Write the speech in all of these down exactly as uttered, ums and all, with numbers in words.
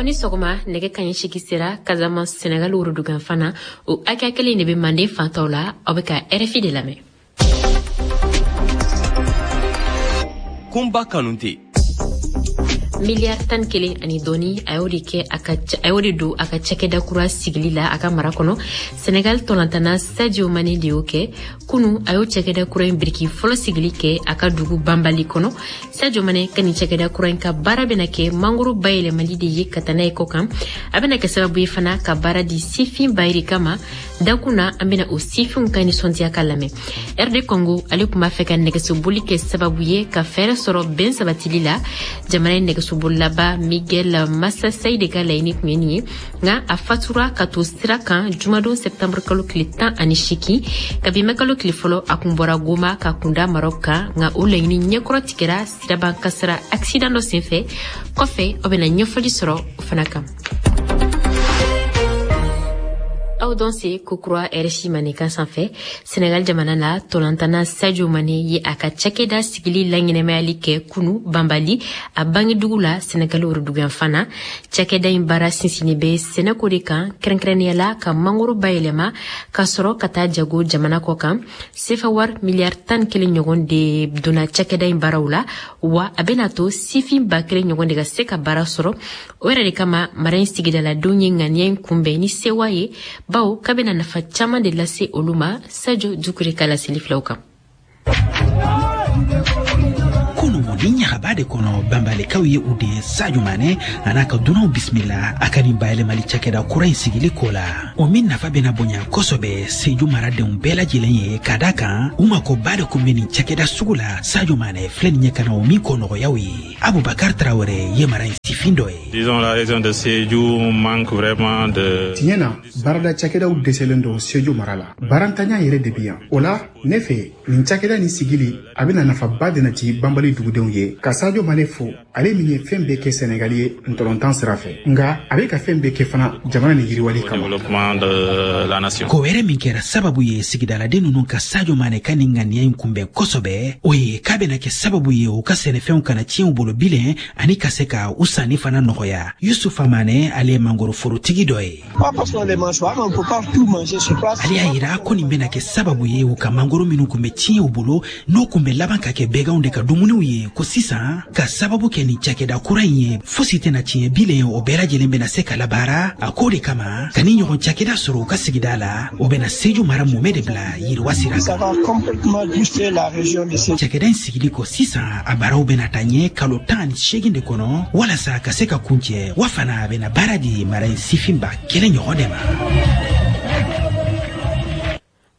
Aw ni sɔgɔma. Nɛgɛ kaɲɛ seegin sera Casamance, Senegal worodugan na. O hakɛya kelen de bɛ Manden fantaw la. Aw bɛ ka R F I de lamɛn. Kunba Kanute. Miliyari tan kelen ani dɔɔni, a y'o de kɛ a ka a y'o de don a ka cakɛda kura sigili la a ka mara kɔnɔ. Senegal tɔnatana Sadio Mane de y'o kɛ kunu. A y'o cakɛda kura in biriki fɔlɔ sigili kɛ a ka dugu Banbali kɔnɔ. Sadio Mane ka nin cakɛda kura in ka baara bɛna kɛ mangoro bayɛlɛmali de ye ka taa n'a ye kɔ kan. A bɛna kɛ sababu ye fana ka baara di sifin bayirika ma. Dakun na, an bɛna o sifinw ka nisɔndiya ka lamɛn. R D Congo, ale tun b'a fɛ ka nɛgɛsoboli kɛ sababu ye ka fɛɛrɛ sɔrɔ bɛn sabatili la jamana in. Nɛgɛsobolilaba Miguel Massassayi de ka laɲini tun ye nin ye, nka a fatura ka to sira kan jumadon sɛptanburu kalo tile tan ani seegin. Kabi mɛ kalo tile fɔlɔ, a kun bɔra Goma ka kunda Marɔk kan, nka o laɲini ɲɛkɔrɔ tigɛra siraban kasara accident dɔ senfɛ. Kɔfɛ, aw bɛna ɲɛfɔli sɔrɔ o fana kan. Aw dɔn se kokura R F I Mandenkan sanfɛ. Senegal jamana la, tolantana Sadio Mane ye a ka cakɛda sigili laɲɛnɛmayali kɛ kunu Banbali, a bangedugu la, Senegal woroduguyanfan na. Cakɛda in baara sinsinni bɛ sɛnɛko de kan, kɛrɛnkɛrɛnnenya la ka mangoro bayɛlɛma ka sɔrɔ ka taa jago jamana kɔ kan. Sefa wari miliyari tan kelen ɲɔgɔn de donna cakɛda in baaraw la, wa a bɛna to sifin ba kelen ɲɔgɔn de ka se ka baara sɔrɔ. O yɛrɛ de kama, mara in sigidaladenw ye ŋaniya in kunbɛn ni sewa ye, bawo k'a bɛna nafa caman de lase olu ma. Sajo Dukure ka laseli filaw kan. Kunu, ni ɲagaba de kɔnɔ, Banbalikaw ye u den Sadio Mane a n'a ka dunanw bisimila a ka nin bayɛlɛmali cakɛda kura in sigili ko la, o min nafa bena bonya kosɔbɛ Seju maradenw bɛɛ lajɛlen ye, ka da kan u makoba de kun be nin cakɛda sugu la. Sadio Mane filɛ nin ye ka na o min ko nɔgɔyaw ye. Abubakar Tarawɛrɛ ye mara in sifin dɔ ye. Disons, la région de Sédhiou manque vraiment de. Tiɲɛ na, baarada cakɛdaw dɛsɛlen don Seju mara la. Baarantanya yɛrɛ de bi yan. O la, ne fɛ, nin cakɛda nin sigili a bɛna nafaba de nati Banbali dugudenw ye. Ka Sadio Mane fo, ale min ye fɛn bɛɛ kɛ Sɛnɛgali ye ntɔlɔntan sira fɛ, nka a bɛ ka fɛn bɛɛ kɛ fana jamana ni yiriwali kama. Développement de la nation. Ko wɛrɛ min kɛra sababu ye sigidaladen ninnu ka Sadio Mane ka nin ŋaniya in kunbɛn kosɔbɛ, o ye k'a bɛna kɛ sababu ye u ka sɛnɛfɛnw kana tiɲɛ u bolo bilen, ani ka se ka u sanni fana nɔgɔya. Yusufa Mane, ale ye mangoroforotigi dɔ ye. Ale y'a yira ko nin bɛna kɛ sababu ye u ka mangoro minnu kun bɛ tiɲɛ u bolo, n'o kun bɛ laban ka kɛ bɛganw de ka dumuniw ye, ko sisan, ka sababu kɛ nin cakɛda kura in ye, fosi tɛna tiɲɛ bilen, o bɛɛ lajɛlen bɛna se ka labaara. A k'o de kama, ka ni ɲɔgɔn cakɛda sɔrɔ u ka sigida la, o bɛna Seju mara mumɛ de bila yiriwa sira kan. Cakɛda in sigili kɔ sisan, a baaraw bɛna taa ɲɛ kalo tan ani seegin de kɔnɔ walasa ka se ka kuncɛ, wa fana a bɛna baara di mara in sifin ba kelen ɲɔgɔn de ma.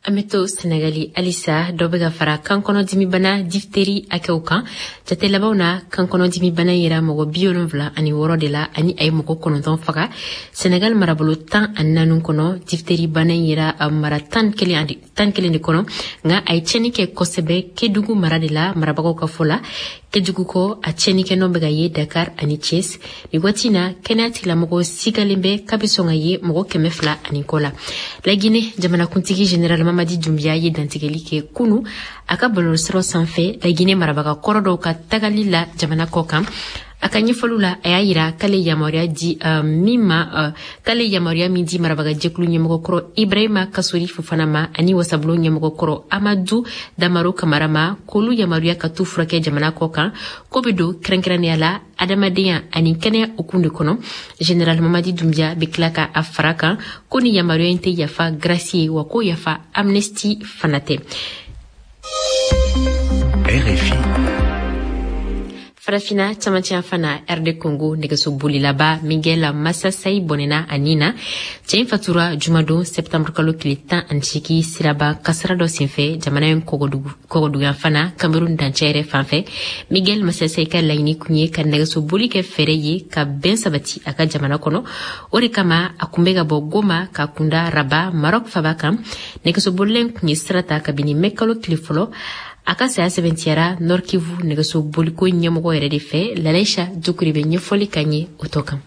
An bɛ to Senegali halisa. Dɔ bɛ ka fara kankɔnɔdimibana diphtérie hakɛw kan. Jate labanw na, kankɔnɔdimibana yera mɔgɔ bi wolonfila ani wɔɔrɔ de la, ani a ye mɔgɔ kɔnɔntɔn faga Senegal marabolo tan ani naani kɔnɔ. Diphtérie bana yera mara tan kelen tan kelen de kɔnɔ, nka a ye tiɲɛni kɛ kosɛbɛ Kedugu mara de la, marabagaw ka fɔ la. Kedugu kɔ, a tiɲɛnikɛ bɛ ka ye Dakar ani Thiès. Nin waati na, kɛnɛya tigilamɔgɔw sigalen bɛ k'a bɛ sɔn ka ye mɔgɔ kɛmɛ fila ani kɔ la. Lagine jamanakuntigi général Mamadi Doumbouya ye dantigɛli kɛ kunu a ka bɔlɔlɔsiraw sanfɛ Lagine marabaga kɔrɔ dɔw ka tagali la jamana kɔ kan. A ka ɲɛfɔliw la, a y'a yira k'ale yamaruya di uh, min ma uh, k'ale yamaruya min di marabagajɛkulu ɲɛmɔgɔkɔrɔ Ibrahima Kasori Fofana ma ani wasabulon ɲɛmɔgɔkɔrɔ Amadu Damaro Kamara ma, k'olu yamaruya ka t'u furakɛ jamana kɔ kan, ko be don kɛrɛnkɛrɛnnenya la adamadenya ani kɛnɛya hukumu de kɔnɔ. Général Mamadi Doumbouya be tila ka a fara kan ko ni yamaruya in tɛ yafa grâce ye, wa ko yafa amnistie fana tɛ. R F I. Farafina camancɛ fana, R D Congo nɛgɛso bolilaba Miguel Masasayi bɔnɛna a nin na. Cɛ in fatura jumadon sɛptanburu kalo tile tan ani seegin siraba kasara dɔ senfɛ jamana in kɔgɔduguyan fana, Cameroun dancɛ yɛrɛ fan fɛ. Miguel Masasayi ka laɲini kun ye ka nɛgɛso boli kɛ fɛɛrɛ ye ka bɛn sabati a ka jamana kɔnɔ. O de kama, a kun bɛ ka bɔ Goma ka kunda Raba, Maroc faba kan. Nɛgɛso bolila in kun ye sira ta kabini mɛ kalo tile fɔlɔ. A ka saya sɛbɛntiyara Nord Kivu nɛgɛso boliko ɲɛmɔgɔ yɛrɛ de fɛ. Lalaisa Dukure bɛ ɲɛfɔli ka ɲɛ o tɔ kan.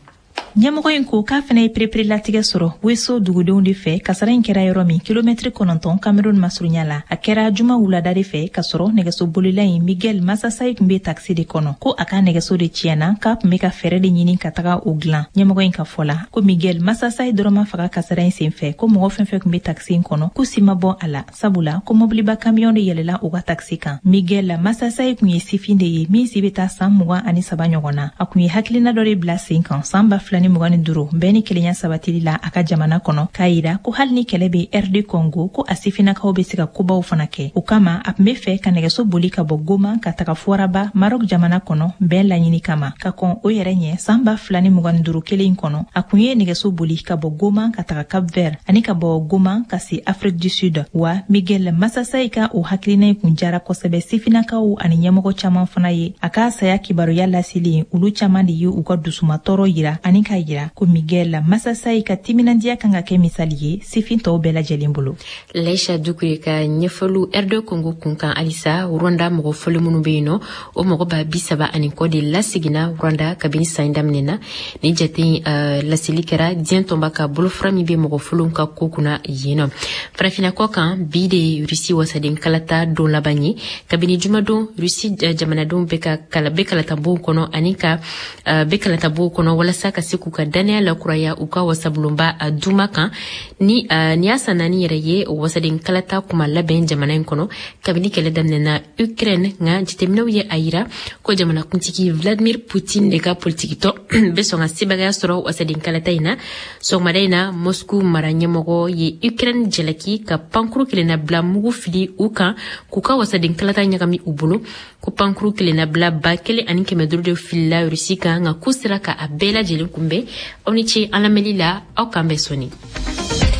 Ɲɛmɔgɔ in ko k'a fana ye pereperelatigɛ sɔrɔ Weso dugudenw de fɛ. Kasara in kɛra yɔrɔ min, kilomɛtiri kɔnɔntɔn Cameroun masurunya la. A kɛra juma wulada de fɛ, ka sɔrɔ nɛgɛsobolila in Miguel Masasayi tun bɛ takisi de kɔnɔ. Ko a ka nɛgɛso de tiɲɛna, k'a tun bɛ ka fɛɛrɛ de ɲini ka taga o dilan. Ɲɛmɔgɔ in ka fɔ la, ko Miguel Masasayi dɔrɔn ma faga kasara in senfɛ, ko mɔgɔ fɛn fɛn tun bɛ takisi in kɔnɔ, ko si ma bɔ a la, sabula ko mɔbiliba kamiyɔn de yɛlɛla u ka takisi kan. Miguel Masasayi tun ye sifin de ye min si bɛ taa san mugan ani saba ɲɔgɔn na. A tun ye hakilina dɔ de bila sen kan san ba fila ni mugan ni duuru bɛn ni kelenya sabatili la a ka jamana kɔnɔ, k'a yira ko hali ni kɛlɛ bɛ R D Congo, ko a sifinnakaw bɛ se ka kobaw fana kɛ. O kama a tun bɛ fɛ ka nɛgɛso boli ka bɔ Goma ka taga Fuaraba Maroc jamana kɔnɔ bɛn laɲini kama. Ka kɔn o yɛrɛ ɲɛ, san ba fila ni mugan ni duuru kelen kɔnɔ, a kun ye nɛgɛso boli ka bɔ Goma ka taga Cap Vert ani ka bɔ Goma ka se Afrique du Sud. Wa Miguel Masasayi ka o hakilina in kun jara kosɛbɛ sifinnakaw ani ɲɛmɔgɔ caman fana ye. A ka saya kibaruya laseli, olu caman de ye u ka dusumatɔɔrɔ yira ani k'a yira ko Miguel Masasayi ka timinandiya kan ka kɛ misali ye sifin tɔw bɛɛ lajɛlen bolo. Laisha Dukure ka ɲɛfɔliw R D Congo kun kan halisa. Rwanda mɔgɔ fɔlɔ minnu bɛ yen nɔ, o mɔgɔ ba bi saba ani kɔ de laseginna Rwanda kabini san daminɛ na. Ni jate in uh, laseli kɛra diɲɛ tɔnba ka bolofara min bɛ mɔgɔ fɔlɔw ka ko kunna yen nɔ. Farafinna kɔ kan, bi de ye Rusi wasaden kalata don laban ye. Kabini jumadon, Rusi jamanadenw bɛ ka kala bɛ kalatabonw kɔnɔ ani ka uh, bɛ kalatabonw kɔnɔ walasa ka se k'u ka dannaya lakuraya u ka wasabulonba uh, Duma kan. Ni uh, ni y'a san naani yɛrɛ ye wasaden kalata kuma labɛn jamana in kɔnɔ kabini kɛlɛ daminɛna Ukraine. Nka jateminɛw ye a yira ko jamanakuntigi Vladimir Poutine de ka politikitɔ bɛ sɔn ka sebagaya sɔrɔ wasaden kalata in na. Sɔgɔmada in na, Moscou mara ɲɛmɔgɔ ye Ukraine jalaki ka pankuru kelennabila mugu fili u kan k'u ka wasaden kalata ɲagami u bolo. Ko pankuru kelennabila ba kelen ani kɛmɛ duuru de filila Rusi kan, nka k'u sera ka a bɛɛ lajɛlen kunbɛn. Aw ni ce an lamɛnli la, aw k'an bɛn sɔɔni.